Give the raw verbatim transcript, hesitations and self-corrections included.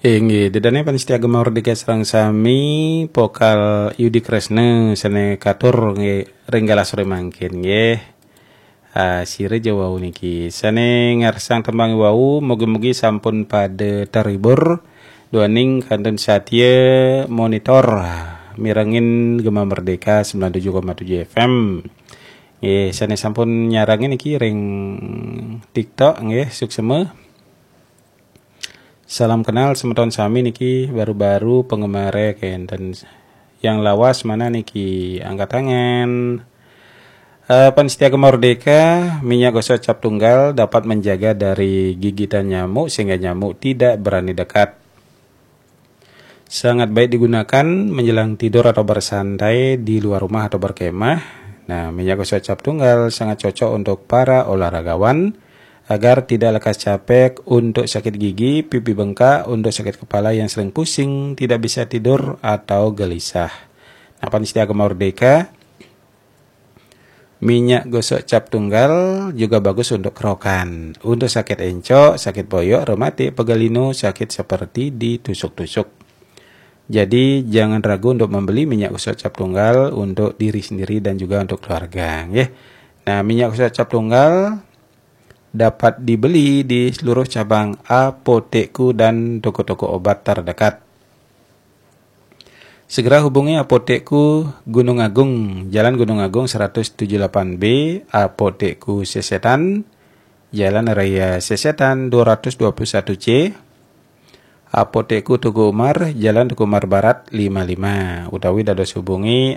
Inggih, dedane pamiarsa Gema Merdeka sareng sami, pokal Yudi Kresna sane katur nggih ring galah sore mangkin nggih. Ah, sira ja wau niki sane ngarsang tembang wau, mugi-mugi sampun pada terhibur duaning kantun satia monitor mirengin Gema Merdeka sembilan tujuh koma tujuh F M. Nggih, sane sampun nyarengin niki ring TikTok nggih, suksema. Salam kenal semeton sami niki, baru-baru penggemare kenten. Yang lawas mana niki, angkat tangan. Eh, pamiarsa Gema Merdeka, minyak gosok cap tunggal dapat menjaga dari gigitan nyamuk sehingga nyamuk tidak berani dekat. Sangat baik digunakan menjelang tidur atau bersantai di luar rumah atau berkemah. Nah, minyak gosok cap tunggal sangat cocok untuk para olahragawan agar tidak lekas capek, untuk sakit gigi, pipi bengkak, untuk sakit kepala yang sering pusing, tidak bisa tidur atau gelisah. Nah, pamiarsa Gema Merdeka, minyak gosok cap tunggal juga bagus untuk kerokan, untuk sakit encok, sakit boyok, rematik, pegal linu, sakit seperti ditusuk-tusuk. Jadi, jangan ragu untuk membeli minyak gosok cap tunggal untuk diri sendiri dan juga untuk keluarga, nggih. Nah, minyak gosok cap tunggal dapat dibeli di seluruh cabang Apotekku dan toko-toko obat terdekat. Segera hubungi Apotekku Gunung Agung, Jalan Gunung Agung seratus tujuh delapan B, Apotekku Sesetan, Jalan Raya Sesetan dua ratus dua puluh satu C, Apotekku Teuku Umar, Jalan Teuku Umar Barat lima lima, utawi dados hubungi